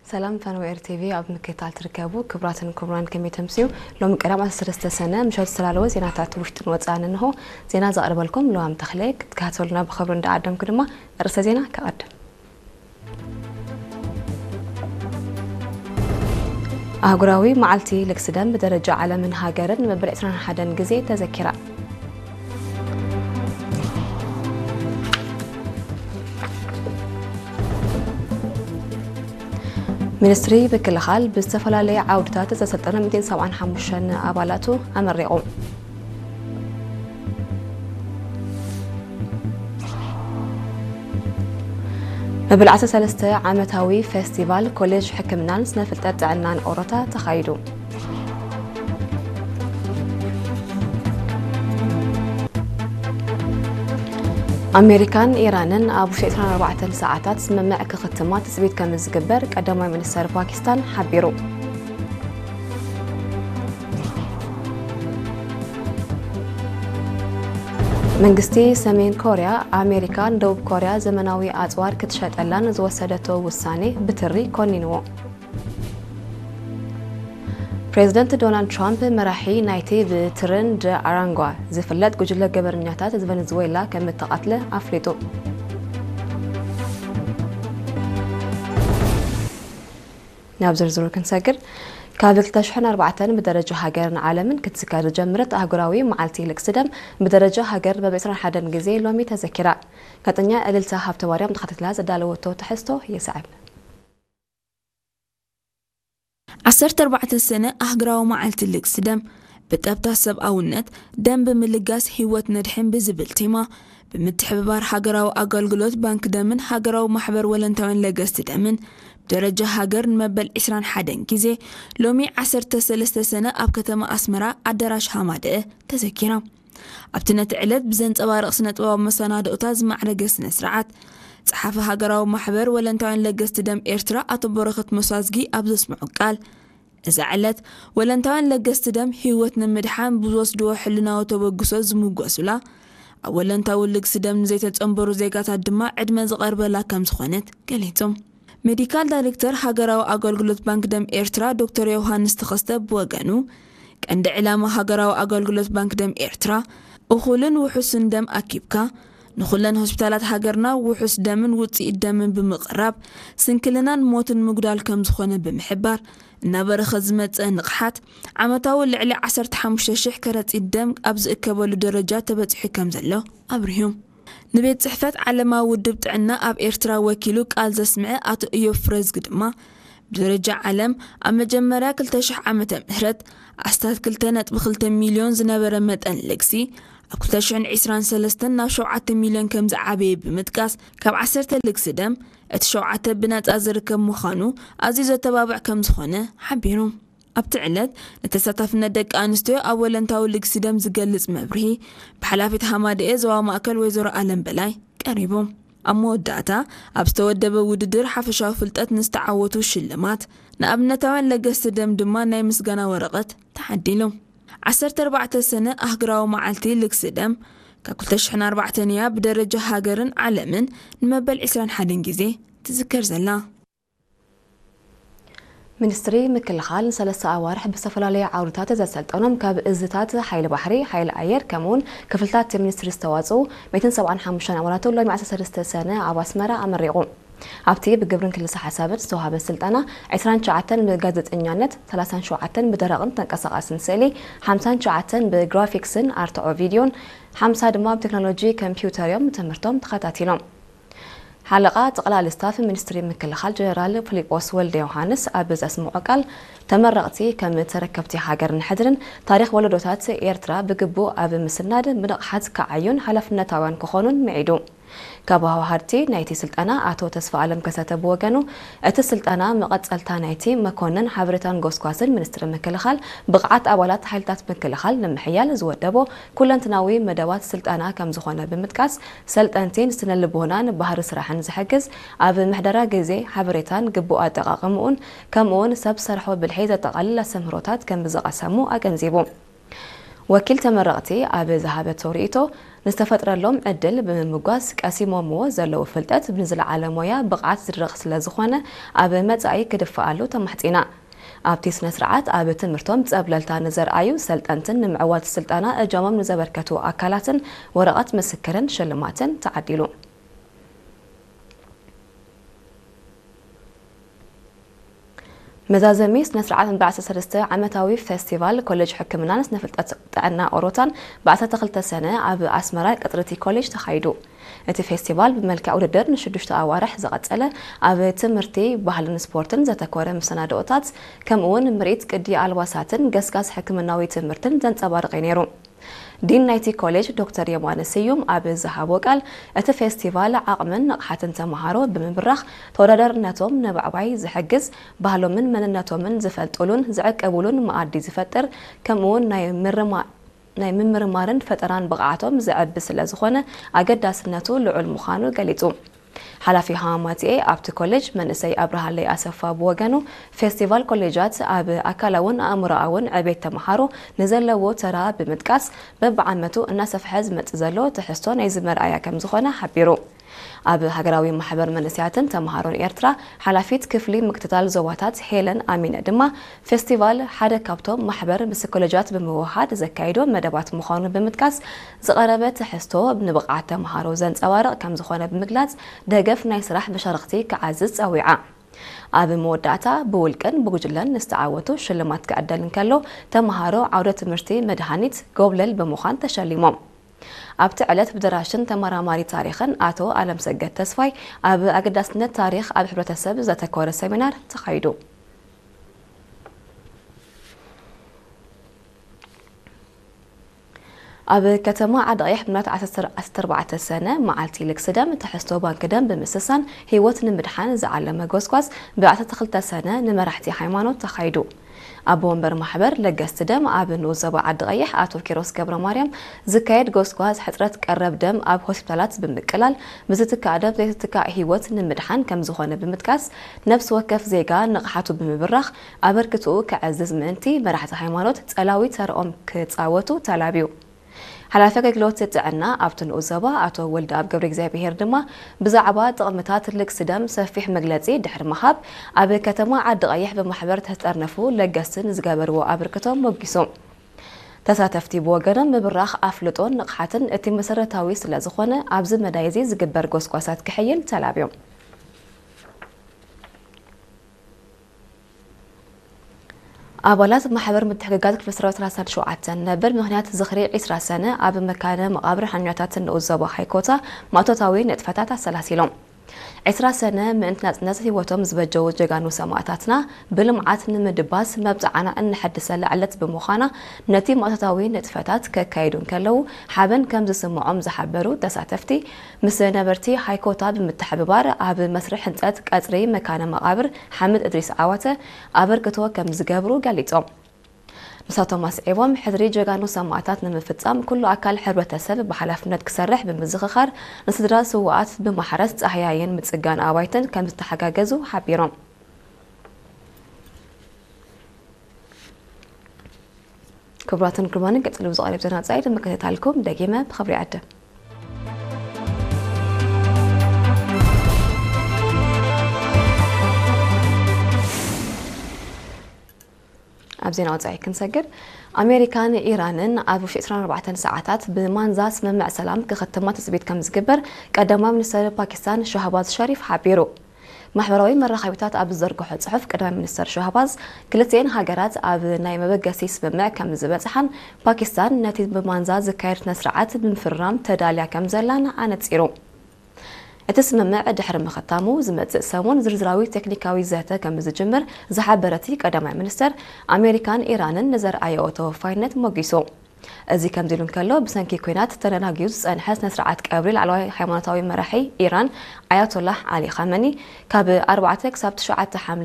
ሰላም ፈነወ ኤር ቲቪ ኣብ ምክትታል ትርከቡ ክቡራትን ክቡራን፣ ከመይ ተምስዩ? ሎሚ ቀዳም ዓሰርተ ሰለስተ ሰነ ምሸት ዝተላለወ ዜናታት ውሽጥን ወፃእን እንሆ። ዜና ዘቕርበልኩም ለዋም ተኽለ። ክትከታተሉና ብኽብሪ እንዳዓደምኩ ድማ ርእሰ ዜና ከቐድም። ኣህጉራዊ መዓልቲ ልግሲ ደም ብደረጃ ዓለምን ሃገርን መበል ዕስራን ሓደን ግዜ ተዘኪራ። ሚኒስትሪ ምክልኻል ብዝተፈላለየ ዓውድታት ዘሰልጠነ ሚእትን ሰብዓን ሓሙሽተን ኣባላቱ ኣመሪቑ። መበል ዓሰርተ ሰለስተ ዓመታዊ ፌስቲቫል ኮሌጅ ሕክምናን ስነ ፍልጠት ጥዕናን ኦሮታ ተኻይዱ። ኣሜሪካን ኢራንን ኣብ ውሽጢ ዕስራን ኣርባዕተን ሰዓታት ስምምዕ ክኽትማ ትጽቢት ከም ዝግበር ቀዳማይ ሚኒስተር ፓኪስታን ሓቢሩ። መንግስቲ ሰሜን ኮርያ፣ ኣሜሪካ ንደቡብ ኮርያ ዘመናዊ ኣጽዋር ክትሸጠላን ዝወሰደቶ ውሳኔ ብትሪ ኮኒንዎ። ፕሬዝደንት ዶናልድ ትራምፕ፣ መራሒ ናይቲ ብትርን ደ ኣራንጓ ዝፍለጥ ጉጅለ ገበረኛታት ቨነዝዌላ ከም እተቐትለ ኣፍሊጡ። ናብ ዝርዝሩ ክንሰግር፣ ካብ ክልተ ሽሕን ኣርባዕተን ብደረጃ ሃገርን ዓለምን ክትዝከር ዝጀመረት ኣህጉራዊ መዓልቲ ልግሲ ደም ብደረጃ ሃገር መበል ዕስራን ሓደን ግዜ ሎሚ ተዘኪራ። ጋዜጠኛ እልልታ ሃብተማርያም ተኸታቲላ ዘዳለወቶ ትሕዝቶ ይስዕብ። ዓሰርተ ኣርባዕተ ሰነ ኣህጉራዊ መዓልቲ ልግሲ ደም ብጠብታ ሰብኣውነት፣ ደም ብምልጋስ ህይወት ነድሕን ብዝብል ቴማ፣ ብምትሕብባር ሃገራዊ ኣገልግሎት ባንክ ደምን ሃገራዊ ማሕበር ወለንታውያን ለገስቲ ደምን ብደረጃ ሃገር ንመበል ዕስራን ሓደን ግዜ ሎሚ ዓሰርተ ሰለስተ ሰነ ኣብ ከተማ ኣስመራ ኣዳራሽ ሃማደአ ተዘኪራ። ኣብቲ ነቲ ዕለት ብዘንጸባርቕ ስነ-ጥበባዊ መሰናድኦታት ዝማዕረገ ስነ-ስርዓት፣ ጸሓፊ ሃገራዊ ማሕበር ወለንታውያን ለገስቲ ደም ኤርትራ ኣቶ በረኸት መሳዝጊ ኣብ ዘስምዖ ቃል፣ እዛ ዕለት ወለንታውያን ለገስቲ ደም ህይወት ንምድሓን ብዝወስድዎ ሕልናዊ ተበግሶ ዝምጎሱላ፣ ኣብ ወለንታዊ ልግሲ ደም ንዘይተጸንበሩ ዜጋታት ድማ ዕድመ ዝቐርበላ ከም ዝኾነት ገሊጹ። ሜዲካል ዳይሬክተር ሃገራዊ ኣገልግሎት ባንክ ደም ኤርትራ ዶክተር ዮሃንስ ተኸስተ ብወገኑ፣ ቀንዲ ዕላማ ሃገራዊ ኣገልግሎት ባንክ ደም ኤርትራ፣ እኹልን ውሑስን ደም ኣኪብካ፣ ንኹለን ሆስፒታላት ሃገርና ውሑስ ደምን ውጽኢት ደምን ብምቕራብ፣ ስንክልናን ሞትን ምጉዳል ከም ዝኾነ ብምሕባር፣ እናበረኸ ዝመጸ ንቕሓት፣ ዓመታዊ ልዕሊ ዓሰርተ ሓሙሽተ ሽሕ ከረጺት ደም ኣብ ዝእከበሉ ደረጃ ተበጺሑ ከም ዘሎ ኣብሪሁ። ንቤት ጽሕፈት ዓለማዊ ውድብ ጥዕና ኣብ ኤርትራ ወኪሉ ቃል ዘስምዐ ኣቶ እዮብ ፍረዝጊ ድማ፣ ብደረጃ ዓለም ኣብ መጀመርያ ክልተ ሽሕ ዓመተ ምህረት ኣስታት ክልተ ነጥቢ ክልተ ሚልዮን ዝነበረ መጠን ልግሲ፣ ኣብ ክልተ ሽሕን ዕስራን ሰለስተን ናብ ሸውዓተ ሚልዮን ከም ዝዓበየ ብምጥቃስ፣ ካብ ዓሰርተ ልግሲ ደም እቲ ሸውዓተ ብነጻ ዝርከብ ምዃኑ ኣዝዩ ዘተባብዕ ከም ዝኾነ ሓቢሩ። ኣብቲ ዕለት፣ ንተሳታፍነት ደቂ ኣንስትዮ ኣብ ወለንታዊ ልግሲ ደም ዝገልጽ መብርሂ ብሓላፊት ሃማደኤ ዞባ ማእከል ወይዘሮ ኣለም በላይ ቀሪቡ። ኣብ መወዳእታ፣ ኣብ ዝተወደበ ውድድር ሓፈሻዊ ፍልጠት ንዝተዓወቱ ሽልማት፣ ንኣብነታውያን ለገስቲ ደም ድማ ናይ ምስጋና ወረቐት ተዓዲሉ። ዓሰርተ ኣርባዕተ ሰነ ኣህጉራዊ መዓልቲ ልግሲ ደም ካብ ክልተ ሽሕን ኣርባዕተን እያ ብደረጃ ሃገርን ዓለምን ንመበል ዕስራን ሓደን ግዜ ትዝከር ዘላ። ሚኒስትሪ ምክልኻል ንሰለስተ ኣዋርሕ ብዝተፈላለዩ ዓውድታት ዘሰልጠኖም ካብ እዝታት ሓይሊ ባሕሪ፣ ሓይሊ ኣየር ከምኡውን ክፍልታት ሚኒስትሪ ዝተዋፅኡ ሚእትን ሰብዓን ሓሙሽተን ኣባላቱ ሎሚ ዓሰርተ ሰለስተ ሰነ ኣብ ኣስመራ ኣመሪቑ። ኣብቲ ብግብርን ክልሰ ሓሳብን ዝተዋሃበ ስልጠና፣ ዕስራን ትሽዓተን ብጋዜጠኛነት፣ ሰላሳን ሸውዓተን ብደረቕን ተንቀሳቓስን ስእሊ፣ ሓምሳን ትሽዓተን ብግራፊክስን ኣርትዖ ቪድዮን፣ ሓምሳ ድማ ብቴክኖሎጂ ኮምፒውተር እዮም ትምህርቶም ተኸታቲሎም። ሓለቓ ጠቕላሊ ስታፍ ሚኒስትሪ ምክልኻል ጀነራል ፊሊጶስ ወልደ ዮሃንስ ኣብ ዘስምዖ ቃል፣ ተመረቕቲ ከም ተረከብቲ ሃገርን ሕድርን ታሪኽ ወለዶታት ኤርትራ ብግቡእ ኣብ ምስናድ ብንቕሓት ክዓዩን ሓላፍነታውያን ክኾኑን ምዒዱ። ካብ ኣወሃድቲ ናይቲ ስልጠና ኣቶ ተስፋ ኣለም ከሰተ ብወገኑ፣ እቲ ስልጠና መቐጸልታ ናይቲ መኮንን ሓበሬታን ጎስጓስን ሚኒስትሪ ምክልኻል ብቕዓት ኣባላት ሓይልታት ምክልኻል ንምሕያል ዝወደቦ ኩለንትናዊ መደባት ስልጠና ከም ዝኾነ ብምጥቃስ፣ ሰልጠንቲ ንስነ ልቦናን ባህሪ ስራሕን ዝሕግዝ፣ ኣብ ምሕደራ ግዜ፣ ሓበሬታን ግቡእ ኣጠቓቕምኡን፣ ከምኡውን ሰብ ሰርሖ ብልሒ ዘጠቓልል ኣስተምህሮታት ከም ዝቐሰሙ ኣገንዚቡ። ወኪል ተመረቕቲ ኣብ ዝሃበቶ ርእይቶ፣ ንዝተፈጥረሎም ዕድል ብምምጓስ ቀሲሞምዎ ዘለዉ ፍልጠት ንዝለዓለ ሞያ ብቕዓት ዝድረኽ ስለ ዝኾነ ኣብ መጻኢ ክድፍኣሉ ተማሕጺና። ኣብቲ ስነ ስርዓት ኣብ ትምህርቶም ጸብለልታ ንዘርኣዩ ሰልጠንትን ንምዕዋት ስልጠና እጃሞም ንዘበርከቱ ኣካላትን ወረቐት ምስክርን ሽልማትን ተዓዲሉ። መዛዘሚ ስነ ስርዓት መበል ዓሰርተ ሰለስተ ዓመታዊ ፌስቲቫል ኮሌጅ ሕክምናን ስነ ፍልጠት ጥዕና ኦሮታን ብ ዓሰርተ ክልተ ሰነ ኣብ ኣስመራ ቀጽሪ እቲ ኮሌጅ ተኻይዱ። እቲ ፌስቲቫል ብመልክዕ ውድድር ንሽዱሽተ ኣዋርሕ ዝቐጸለ፣ ኣብ ትምህርቲ፣ ባህልን ስፖርትን ዘተኮረ መሰናድኦታት፣ ከምኡ እውን ምርኢት ቅዲ ኣልባሳትን ገስጋስ ሕክምናዊ ትምህርትን ዘንጸባርቕ እዩ ነይሩ። ዲን ናይቲ ኮሌጅ ዶክተር የማነ ስዩም ኣብ ዝሃቦ ቃል፣ እቲ ፌስቲቫል ዓቕምን ንቕሓትን ተምሃሮ ብምብራኽ፣ ተወዳዳርነቶም ንምዕባይ ዝሕግዝ፣ ባህሎምን መንነቶምን ዝፈልጡሉን ዝዕቅቡሉን መኣዲ ዝፈጥር፣ ከምኡ እውን ናይ ምርማ ናይ ምምርማርን ፈጠራን ብቕዓቶም ዘዕቢ ስለ ዝኾነ ኣገዳስነቱ ልዑል ምዃኑ ገሊጹ። ሓላፊ ሃማማትኤ ኣብቲ ኮሌጅ መንእሰይ ኣብርሃለይ ኣሰፋ ብወገኑ፣ ፌስቲቫል ኮሌጃት ኣብ ኣካላውን ኣእምሮኣውን ዕቤት ተምሃሮ ንዘለዎ ተራ ብምጥቃስ፣ በብዓመቱ እናሰፍሐ ዝመጽእ ዘሎ ትሕዝቶ ናይዚ መርኣያ ከም ዝኾነ ሓቢሩ። ኣብ ሃገራዊ ማሕበር መንእሰያትን ተምሃሮን ኤርትራ ሓላፊት ክፍሊ ምክትታል ዞባታት ሄለን ኣሚነ ድማ፣ ፌስቲቫል ሓደ ካብቶም ማሕበር ምስ ኮሌጃት ብምውህሃድ ዘካይዶ መደባት ምዃኑ ብምጥቃስ፣ ዝቐረበ ትሕዝቶ ንብቕዓት ተምሃሮ ዘንጸባርቕ ከም ዝኾነ ብምግላጽ፣ ደገፍ ናይ ስራሕ መሻርኽቲ ክዓዝዝ ጸዊዓ። ኣብ መወዳእታ ብውልቅን ብጉጅለን ንዝተዓወቱ ሽልማት ክዕደል እንከሎ፣ ተምሃሮ ዓውደ ትምህርቲ መድሃኒት ጎብለል ብምዃን ተሸሊሞም። ኣብቲ ዕለት ብደራሽን ተመራማሪ ታሪኽን ኣቶ ኣለምሰገድ ተስፋይ ኣብ ኣገዳስነት ታሪኽ ኣብ ሕብረተሰብ ዘተኮረ ሰሚናር ተኻይዱ። ኣብ ከተማ ዓዲ ቀይሕ ብናት ዓሰርተ ኣርባዕተ ሰነ መዓልቲ ልግሲ ደም ትሕዝቶ ባንክ ደም ብምስሳን ህይወት ንምድሓን ዝዓለመ ጎስጓስ ብ ዓሰርተ ክልተ ሰነ ንመራሕቲ ሃይማኖት ተኻይዱ። ኣቦ ወንበር ማሕበር ለገስቲ ደም ኣብ ንኡስ ዞባ ዓዲ ቀይሕ ኣቶ ኪሮስ ገብረ ማርያም፣ ዝካየድ ጎስጓስ ሕጽረት ቀረብ ደም ኣብ ሆስፒታላት ብምቅላል ብዝትካእ ደም ዘይትትካእ ህይወት ንምድሓን ከም ዝኾነ ብምጥቃስ፣ ነፍሲ ወከፍ ዜጋ ንቕሓቱ ብምብራኽ ኣበርክትኡ ከዕዝዝ ምእንቲ መራሕቲ ሃይማኖት ጸላዊ ተርኦም ክጻወቱ ተላብዩ። ሓላፊ ኣገልግሎት ጥዕና ኣብቲ ንኡስ ዞባ ኣቶ ወልደኣብ ገብረ እግዚኣብሄር ድማ ብዛዕባ ጥቕምታት ልግሲ ደም ሰፊሕ መግለጺ ድሕሪ ምሃብ፣ ኣብ ከተማ ዓዲ ቀይሕ ብማሕበር ተጠርነፉ ለገስቲ ንዝገበርዎ ኣበርክቶ ሞጊሱ። ተሳተፍቲ ብወገኖም ምብራኽ ኣፍልጦን ንቕሓትን እቲ መሰረታዊ ስለ ዝኾነ ኣብዚ መዳይ እዚ ዝግበር ጎስጓሳት ክሕይል ተላብዮም። ኣባላት ማሕበር ምትሕግጋዝ ክፍለ ሰራዊት ሰላሳን ሸውዓተን ነበር ምኽንያት ዝኽሪ ዕስራ ሰነ ኣብ መካነ መቓብር ሓርበኛታት ንኡስ ዞባ ሃይኮታ ማእቶታዊ ንጥፈታት ኣሰላሲሎም። ዕስራ ሰነ ምእንቲ ናጽነት ህይወቶም ዝበጀዉ ጀጋኑ ሰማእታትና ብልምዓት ንምድባስ መብጽዓና እነሐድሰላ ዕለት ብምዃና፣ ነቲ ማእቶታዊ ንጥፈታት ከካይዱ እንከለዉ ሓበን ከም ዝስምዖም ዝሓበሩ ተሳተፍቲ፣ ምስ ነበርቲ ሃይኮታ ብምትሕብባር ኣብ መስርሕ ህንጸት ቀጽሪ መካነ መቓብር ሓምድ እድሪስ ዓዋተ ኣበርክቶ ከም ዝገብሩ ገሊጾም። ንሳቶም ኣስዒቦም፣ ሕድሪ ጀጋኑ ሰማእታት ንምፍጻም ኩሉ ኣካል ሕብረተሰብ ብሓላፍነት ክሰርሕ ብምዝኽኻር፣ ንስድራ ስዉኣት ብማሕረስ ጻህያይን ምጽጋን ኣባይትን ከም ዝተሓጋገዙ ሓቢሮም። ክቡራትን ክቡራንን፣ ቀጺሉ ብዝቐርብ ዜና ወጻኢ ንምክትታልኩም ደጊመ ብኽብሪ ይዕድም። ኣብ ዜና ወጻኢ ክንሰግር፣ ኣሜሪካን ኢራንን ኣብ ውሽጢ ዕስራን ኣርባዕተን ሰዓታት ብማንዛ ስምምዕ ሰላም ክኽትማ ትጽቢት ከም ዝግበር ቀዳማይ ሚኒስተር ፓኪስታን ሻህባዝ ሸሪፍ ሓቢሩ። ማሕበራዊ መራኸቢታት ኣብ ዝዘርግሖ ጽሑፍ፣ ቀዳማይ ሚኒስተር ሻህባዝ፣ ክልቲኤን ሃገራት ኣብ ናይ መበገሲ ስምምዕ ከም ዝበጽሓን ፓኪስታን ነቲ ብማንዛ ዝካየድ ስነ ስርዓት ብምፍርራም ተዳልያ ከም ዘላን ኣነጺሩ። እቲ ስምምዕ ድሕሪ ምኽታሙ ዝመጽእ ሰሙን ዝርዝራዊ ቴክኒካዊ ዘተ ከም ዝጅምር ዝሓበረ እቲ ቀዳማይ ሚኒስተር፣ ኣሜሪካን ኢራንን ንዘርኣየኦ ተወፋይነት ሞጊሱ። እዚ ከምዚ ኢሉ እንከሎ፣ ብሰንኪ ኲናት ተደናጊዩ ዝጸንሐ ስነ ስርዓት ቀብሪ ላዕለዋይ ሃይማኖታዊ መራሒ ኢራን ኣያቶላህ ዓሊ ኻመኒ፣ ካብ ኣርባዕተ ክሳብ ትሽዓተ ሓምለ